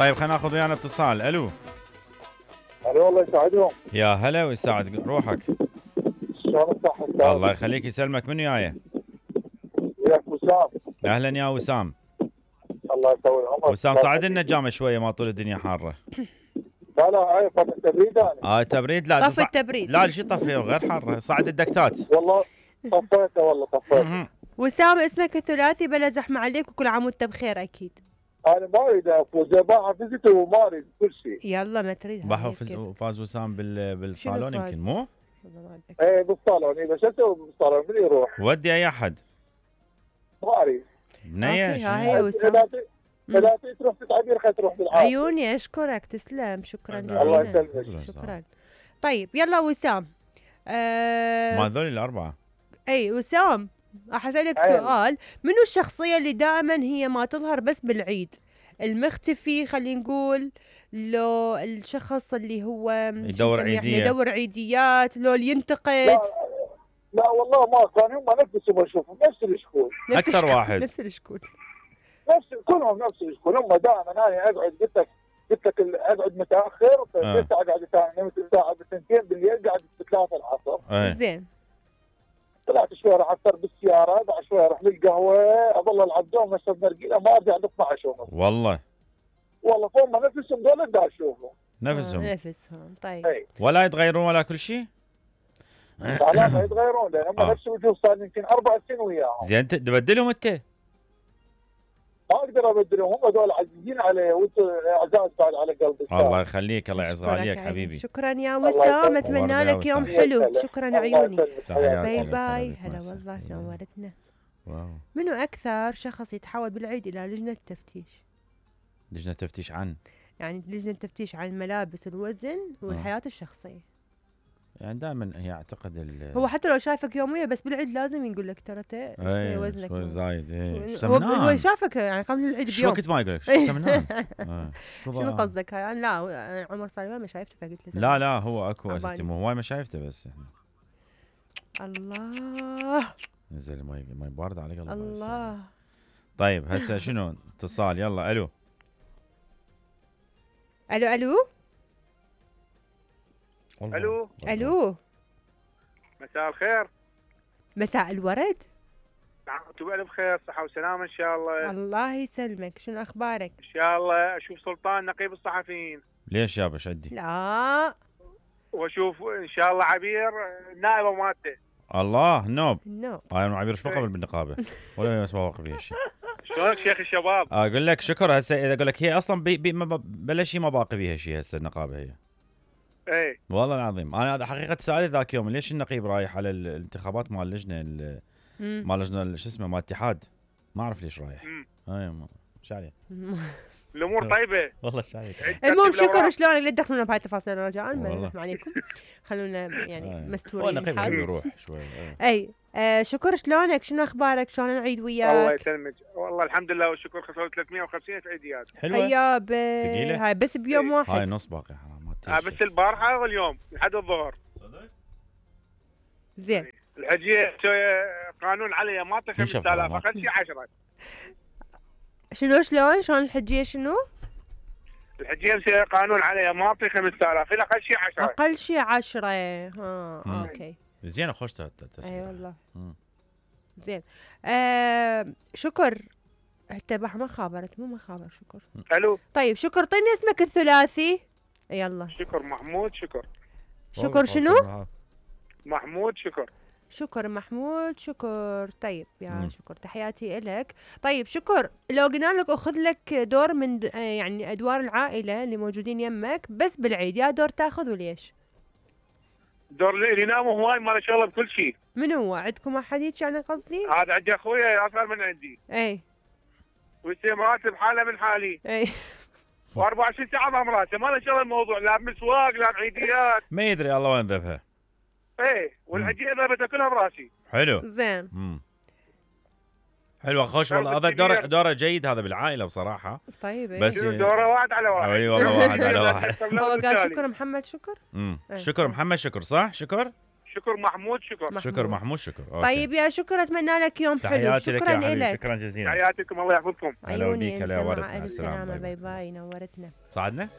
طيب خلينا ناخذ ويانا اتصال. الو الو الله يسعدهم. يا هلا ويساعد روحك. شلون الصحة؟ الله يخليك يسلمك. من وياي؟ وياك وسام. اهلا يا وسام. الله يطول عمرك. وسام صعد لنا النجامه شويه ما طول الدنيا حاره. لا هاي فترة تبريد انا. تبريد لا طف التبريد. لا شو طفي غير حاره صعد الدكتات. والله طفيته. وسام اسمك الثلاثي بلا زحمه عليك وكل عام وانت بخير اكيد. انا ما اريد افوز باع فزته وما اريد كل شيء. يلا ما تريد. فاز وسام بالصالون يمكن مو؟ ايه بالصالون بس اسوي بالصالون من يروح؟ ودي اي احد. ما اريد. بنيه اذا تروح تتعبير خلينا تروح بالعافيه. عيوني اشكرك تسلم شكرا جزيلا. الله يسلمك. شكرا. طيب يلا وسام. ما هذول الاربعه. اي وسام راح اسالك سؤال. منو الشخصيه اللي دائما هي ما تظهر بس بالعيد؟ المختفي خلينا نقول، لو الشخص اللي هو يدور عيديات، لو اللي ينتقد. لا والله ما كان هم نفسهم اشوفهم نفس الشكول. اكثر واحد نفس الشكول. كلهم نفس الشكول. هم دائما انا اقعد قلت لك اقعد متاخر اقعد الساعه 2 بالليل قاعد 3 العصر. زين. طلعت شوي راح افطر بالسياره، بعد شوي اروح للقهوه، اظل العب دوم اشرب نرجيله، ما ارجع ل 12 ونص. والله فهم نفسهم دول دا اشوفهم. نفسهم طيب. ولا يتغيرون ولا كل شيء؟ لا ما يتغيرون لان هم نفس الوجوه صار يمكن 4 سنين وياهم. زين انت تبدلهم انت؟ ما اقدر ابدلهم، هم دول عزيزين علي وانت عزاز بعد على قلبي. الله يخليك الله يعز غاليك حبيبي. شكرا يا وسام، اتمنى لك يوم حلو. شكرا عيوني. باي باي. هلا والله نورتنا. منو اكثر شخص يتحول بالعيد الى لجنه تفتيش؟ لجنه تفتيش عن؟ يعني لجنه تفتيش عن الملابس، الوزن والحياه الشخصيه. يعني دائما هي اعتقد هو حتى لو شايفك يوميا بس بالعيد لازم يقول لك ترى شوي وزنك شوي زايد. هو شافك يعني قبل العيد بيوم. شو كنت ما يقول لك سمنان؟ شنو قصدك هاي؟ لا عمر صار ما شايفته فقلت له لا هو اكو اساسا مو هواي ما شايفته بس يعني. الله نزل ماي بارد على قلبي. الله. طيب هسه شنو اتصال؟ يلا الو مساء الخير. مساء الورد. انتم بألف خير، صحة وسلامة ان شاء الله. الله يسلمك. شنو اخبارك؟ ان شاء الله اشوف سلطان نقيب الصحفيين. ليش يابا شدي؟ لا واشوف ان شاء الله عبير نائبة مالته. الله النوب. انا عبير ايش بقبل بالنقابة ولا ما واقف بها شيء. شلونك شيخ الشباب؟ اقول لك شكر. هسه اذا اقول لك هي اصلا بلا شيء ما باقي بيها شيء هسه النقابة هي. ايه والله العظيم انا هذا حقيقه سؤالي ذاك يوم ليش النقيب رايح على الانتخابات مال اللجنه مال لجنه شو اسمه مال الاتحاد، ما اعرف ليش رايح. ايش عليه؟ الامور طيبه والله شايف. المهم شكرا. شلونك لا تدخلونا بهاي التفاصيل رجاء ما عليكم. خلونا يعني مستورين. النقيب يروح شوي. اي شكر. شلونك؟ شنو اخبارك؟ شلون العيد وياك؟ الله يسلمك. والله الحمد لله والشكر. خسروا 350 عيديات. حلوه. ثقيله هاي بس بيوم واحد. هاي نص باقي حرام. بس البارحه واليوم لحد الظهر. زين. الحجيه قانون عليها ما تعطي 5000 اقل شيء 10. شلون الحجيه شنو؟ الحجيه قانون عليها ما تعطي 5000 الا اقل شيء 10. اقل شيء 10. اوكي. زين خوش اي والله. زين. شكر. حتى ما خابرت مو شكر. الو. طيب شكر اعطيني اسمك الثلاثي. يلا. شكر محمود شكر. شكر شنو؟ محمود شكر. شكر محمود شكر. طيب يا شكر تحياتي إلك. طيب شكر، لو قلنا لك أخذ لك دور من يعني أدوار العائلة اللي موجودين يمك بس بالعيد، يا دور تاخذ وليش؟ دور اللي يناموا هواي ما شاء الله بكل شيء. من هو؟ عندكم أحد هيك يعني قصدي؟ هذا عندي أخويا أصغر من عندي. أي. ويصير مراتب حالة من حالي. أي. و24 ساعة مع مراته، ما له شغل الموضوع، لا بمسواق لا بعيديات. ما يدري الله وين ذبها. ايه والعجينه ذبتها كلها براسي. حلو. زين. حلو خوش والله. هذا دوره جيد هذا بالعائله بصراحه. طيب بس دوره واحد على واحد. اي والله واحد على واحد. هو قال شكر محمد شكر. شكر محمد شكر صح؟ شكر شكر محمود. شكر محمود. شكر. أوكي. طيب يا شكر، اتمنى لك يوم حلو. شكرا لك. شكرا جزيلا. تحياتكم، الله يحفظكم. هلا بيك. هلا مع ورد. الف سلامه. باي باي. نورتنا. صعدنا.